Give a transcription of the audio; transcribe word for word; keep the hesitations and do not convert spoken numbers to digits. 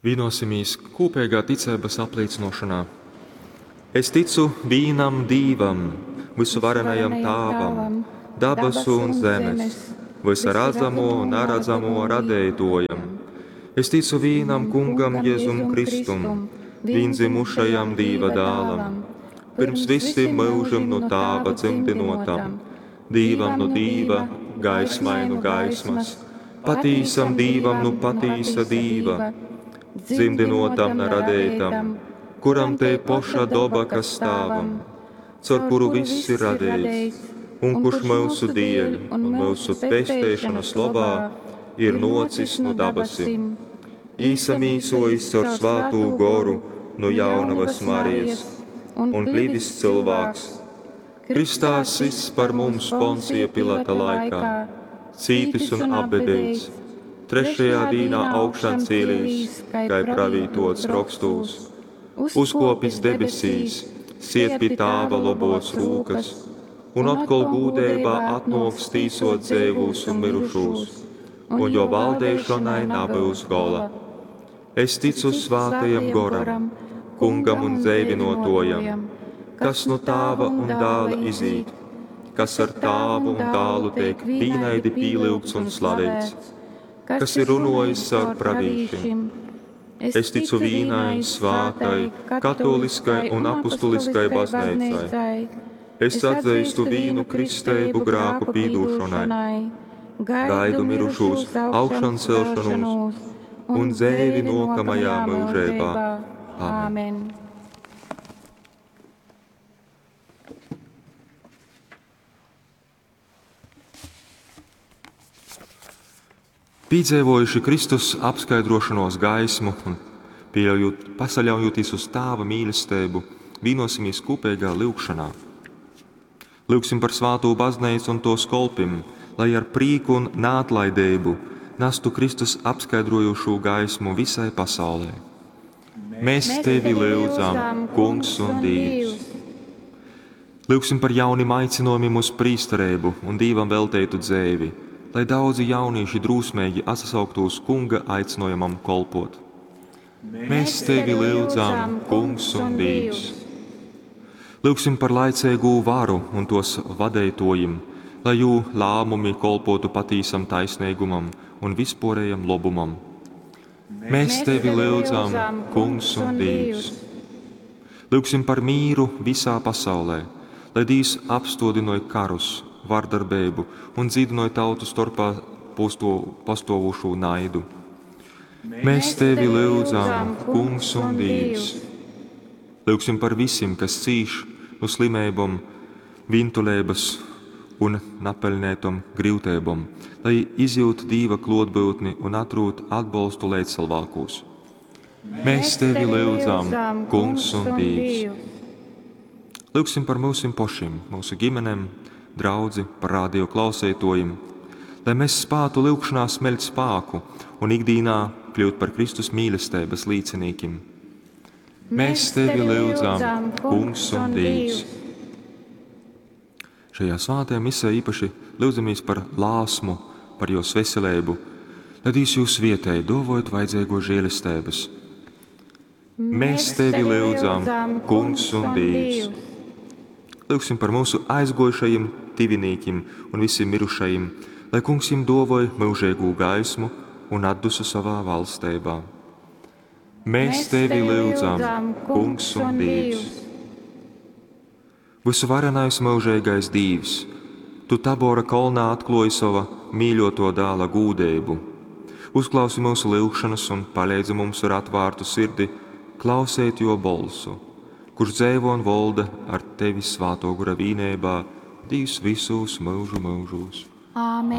Vienosimies kopīgā ticeibas apliecinošanā. Es ticu vīnam Dīvam, visuvarenajam Tāvam, dabasu un zemes, vysa radzamo un naradzamo radeitōjam. Es ticu vīnam Kungam Jezum Kristum, vīndzimušajam Dīva dālam, pirms visim myužim nu Tāva dzymdynōtam, Dīvam nu Dīva, gaismai nu gaismas, patīsam Dīvam nu patīsa Dīva, dzymdynōtam na radeitam, kuram tei poša doba, kas Tāvam, caur kuru viss ir radeits, un kurš myusu dieļ un myusu pesteišanas lobā ir nōcis nu dabasim, īsamīsojis caur Svātū Goru nu jaunavas Marijas un klivis cilvēks, Kristā sists par mums Poncija Pilata laikā, cītis un apbedīts, trešajā dīnā augšancēlīs, kai pravītots rokstūs, uzkopis debesīs, sied pie Tāva lobos rūkas, un atkal gūdeibā atnāks tīsot dzeivūs un mirušūs, un jo valdīšanai nebūs gola. Es ticu Svātajam Goram, Kungam un dzeivinotājam, kas no Tāva un Dāla izīt, kas ar Tāvu un Dālu tiek vīnaidi pīlyugts un slavēts, kas ir runājis caur pravīšiem. Es ticu vīnai svātai, katoliskai un apustuliskai baznīcai. Es atzīstu vīnu kristeibu grāku pīdūšanai, gaidu mirušūs augšancelšanos un dzēvi nokamajā mūžībā. Āmen. Piedzīvojuši Kristus apskaidrošanos gaismu un pieļaujot, pasaļaujoties uz Tāva mīlestību, vienosimies kopīgā lūgšanā. Lūgsim par svātū baznīcu un tos kolpim, lai ar prīku un neatlaidību nestu Kristus apskaidrojošo gaismu visai pasaulē. Mēs tevi lūdzam, Kungs un Dievs! Lūgsim par jaunim aicinājumiem uz prīsterību un Dievam veltētu dzēvi, lai daudzi jaunieši drūsmīgi atsauktos Kunga aicinājumam kolpot. Mēs tevi lūdzam, Kungs un Dievs! Lūgsim par laicīgū varu un tos vadētojim, lai jū lēmumi kolpotu patīsam taisnīgumam un vispārējam lobumam. Mēs tevi lūdzam, Kungs un Dievs! Lūgsim par mīru visā pasaulē, lai Dievs apstodinoja karus, vardarbību un dzīdinoja tautu starpā posto, pastovošo naidu. Mēs tevi lūdzam, Kungs un Dievs! Lūgsim par visiem, kas cīš no slimībām, vintulības un napelnētom grūtībām, lai izjūt Dieva klotbūtni un atrūt atbalstu līdzcilvēkos. Mēs tevi lūdzam, Kungs un Dievs! Lūgsim par mūsim pašiem, mūsu ģimenēm, draudzi, par radio klausētojiem, lai mēs spātu lūgšanā smeļt spāku un ikdīnā kļūt par Kristus mīlestības līdzinīkim. Mēs tevi lūdzam, Kungs un Dievs! Šajā svētajā misē īpaši lūdzamies par lāsmu, par jos veselību, lai Dievs jūs vietēji dovojot vajadzīgo žēlestības. Mēs tevi lūdzam, Kungs un Dievs! Lūgsim par mūsu aizgojušajiem tivinīkim un visiem mirušajiem, lai Kungs jiem dovoj mūžīgu gaismu un atdusu savā valstībā. Mēs tevi lūdzam, Kungs un Dievs! Visuvarenais mūžīgais Dievs, Tu Tabora kolnā atklāji sava mīļoto dēla gūdību. Uzklausi mūsu lūgšanas un palīdzi mums ar atvērtu sirdi klausēt jo bolsu, kurš dzēvo un volda ar tevi svāto gura vīnībā, Dievs visos mūžu mūžos. Āmen.